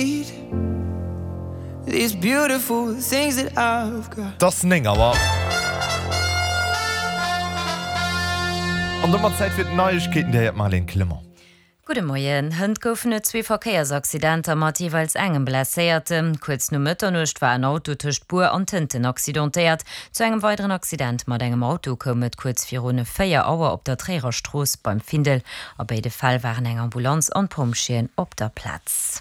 need these beautiful things that I've got. 't ass 9 Auer. An domat Zäit fir d'Neiegkeeten, déi héiert d'Marlène Clement. Gudde Moien. Hënt goufen et zwee Verkéiersaccidenter mat jeeweils engem Blesséierten. Kuerz no Mëtternuecht war en Auto tëscht Buer an Tënten accidentéiert. Zu engem weideren Accident mat engem Auto koum et kuerz virun 4 Auer op der Tréierer Strooss beim Findel. A béide Fäll waren eng Ambulanz an d'Pompjeeën op der Plaz.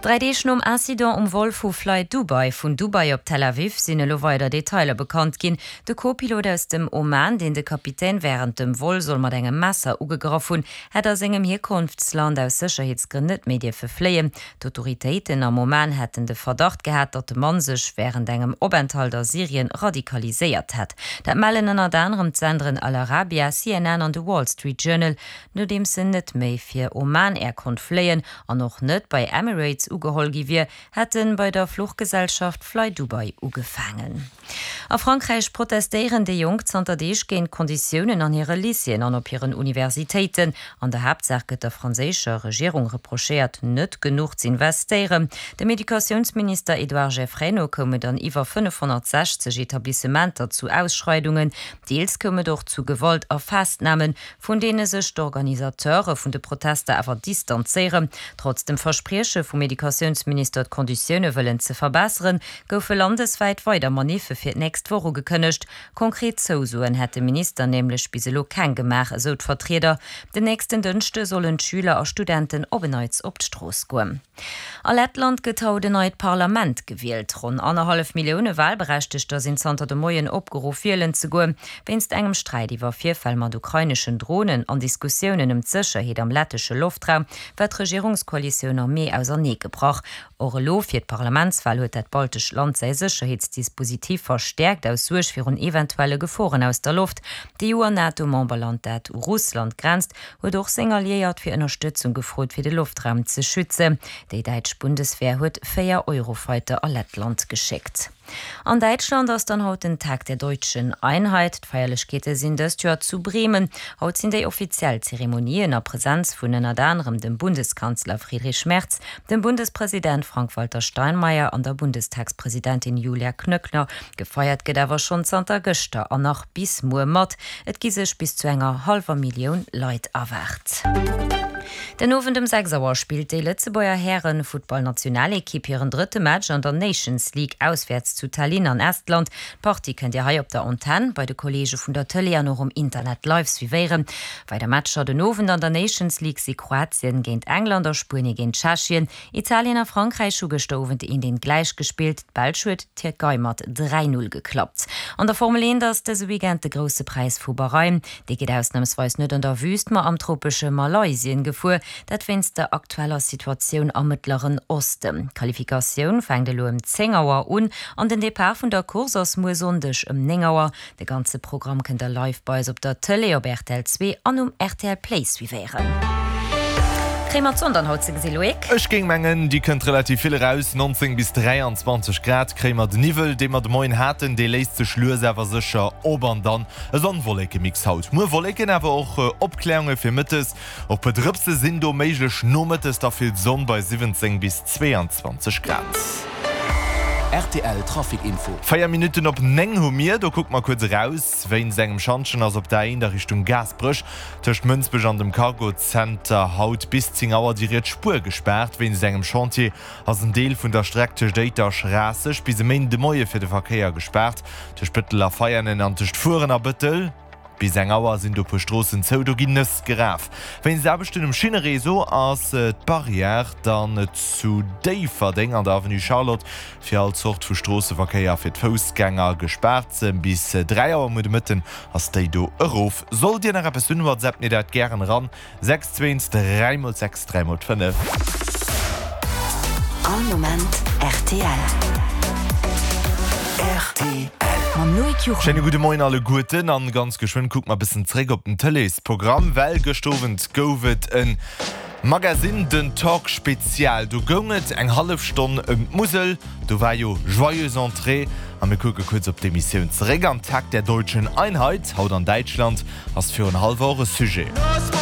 Dräi Deeg nom Incident um Vol vu Flydubai vun Dubai op Tel Aviv sinn elo weider Detailer bekannt ginn. De Co-Pilot aus dem Oman, deen de Kapitän wärend dem Vol soll mat engem Messer ugegraff hunn, hätt a sengem Hierkonftsland aus Sécherheetsgrënn net méi dierfe fléien. D'Autoritéiten am Oman hätten de Verdacht gehat, datt de Mann sech wärend engem Openthalt a Syrien radikaliséiert hätt. Dat mellen ënnert anerem d'Senderen Al Arabia, CNN an de Wall Street Journal. Nodeems en net méi fir Oman Air konnt fléien an och net bei Emirates ugeholl gi wier, hätt en bei der Fluchgesellschaft Flydubai ugefaangen. A Frankräich protestéieren déi Jonk zanter Deeg géint d'Konditiounen an hire Lycéeën an op hiren Universitéiten. An der Haaptsaach gëtt der franséischer Regierung reprochéiert, net genuch z'investéieren. Dem Educatiounsminister Edouard Geffray no koum et an iwwer 560 Etablissementer zu Ausschreidungen. Deels koum et och zu Gewalt a Festnamen, vun deene sech d'Organisateure vun de Protester awer distanzéieren. Trotz dem Versprieche vum Educatiounsminister, d'Konditioune wëllen ze verbesseren, goufe landeswäit weider Maniffe fir d'nächst Woch ugekënnegt. Konkret Zousoen hätt de Minister nämlech bis elo keng gemaach, esou d'Vertrieder. Den nächsten Dënschde sollen d'Schüler a Studenten op en Neits op d'Strooss goen. A Lettland gëtt haut en neit Parlament gewielt. Ronn annerhallef Millioune Walberechtegter sinn zanter de Moien opgeruff, wielen ze goen. Wéinst engem Sträit iwwer Virfäll mat ukraineschen Dronen an Diskussiounen ëm d'Sécherheet am lettesche Loftraum war d'Regierungskoalitioun am Mee auserneegebrach. Och elo fir d'Parlamentswal huet dat baltescht Land säi Sécherheetsdispositif verstäerkt, aus Suerg virun eventuelle Geforen aus der Loft. D'EU an NATO-Memberland, dat u Russland grenzt, huet och seng Alliéiert fir Ënnerstëtzung gefrot, fir de Loftraum ze schützen. Déi däitsch Bundeswehr huet 4 Eurofighter a Lettland geschéckt. An Däitschland ass dann haut den Tag der deutschen Einheit. D'Feierlechkeete sinn dëst Joer zu Bremen. Haut sinn déi offiziell Zeremonien a Presenz vun ënnert anerem dem Bundeskanzler Friedrich Merz, dem Bundespresident Frank-Walter Steinmeier an der Bundestagspresidentin Julia Knöckner. Gefeiert gëtt awer schonn zanter gëschter an nach bis muer mat. Et gi sech bis zu enger hallwer Millioun Leit erwaart. Den Owend ëm 6 Auer spillt déi Lëtzebuerger Hären-Futtballnationalekipp hiren drëtte Match an der Nations League auswäerts zu Tallinn an Estland. D'Partie kënnt Dir hei op der Antenn, bei de Kolleege vun der Tëlee an och um Internet live suivéieren. Weider Matcher den Owend an der Nations League si Kroatien géint England a Spuenie géint Tschechien. Italien a Frankräich hu gëschter Owend eent eent gläich gespillt. D'Belsch huet d'Tierkei mat 3, 0 geklappt. An der Formel 1 ass dëse Weekend de Grousse Präis vu Bahrain. Dee geet ausnamsweis net an der Wüüst, ma am tropesche Malaysien gefuer. Dat wéinst der aktueller Situatioun am Mëttleren Osten. D'Qualifikatioun fänkt elo ëm 10 Auer un an den Depart vun der Course ass muer Sonndeg ëm 9 Auer. De ganze Programm kënnt der live bei eis op der Tëlee, op rtl 2 an um rtl Play suivéieren. Kréie mer d'Sonn dann haut ze gesi, Loïc? Ech géing mengen, déi kënnt relativ vill eraus. 19 bis 23 Grad kréie mer. Den Niwwel, dee mer de Moien haten, dee léist sech lues awer sécher op an dann e Sonn-Wolleke-Mix haut. Muer Wolleken, awer och Opkläerunge fir mëttes. Och puer Drëpse sinn do méiglech, nomëttes da vill Sonn bei 17 bis 22 Grad. Rtl Trafic Info. 4 Minutten op 9 hu mir. Do kucke mer kuerz eraus. Wéinst engem Schantjen ass op der A1 a Richtung Gaasperech tëscht Mënsbech an dem Cargo Center haut bis 10 Auer déi riets Spuer gespaart. Wéinst engem Chantier ass en Deel vun der Streck tëscht Éiter Schraasseg bis e Méinden de Moie fir de Verkéier gespaart. Tëscht Bëttel a Veianen an tëscht Furen a Bëttel. Bis eng Auer sinn do puer Stroossen zou, do ginn Nëss geraf. Wéinst Aarbechten um Schinnereseau ass d'Barrière dann zu Déifferdeng an der Avenue Charlotte fir all Zort vu Stroosseverkéier a fir d'Foussgänger gespaart. Bis 3 Auer muer de Mëtten ass déi do erof. Sollt Dir nach eppes hunn, WhatsAppt mir dat gären eran. 6 2 3 mol 6 3 mol 5. All Moment rtl. Rtl. Mam Loïc Juchem. Schéine gudde Moien alleguerten an ganz geschwënn kucke mer bëssen zréck op den Tëleesprogramm, well gëscht Owend gouf et en Magasinn, den Talk Spezial. Do goung et eng hallef Stonn ëm d'Musel, do war jo Joyeuse Entrée a mir kucke kuerz op d'Emissioun zeréck. Am Tag der deutschen Einheit haut an Däitschland ass virun hallwer och e Sujet.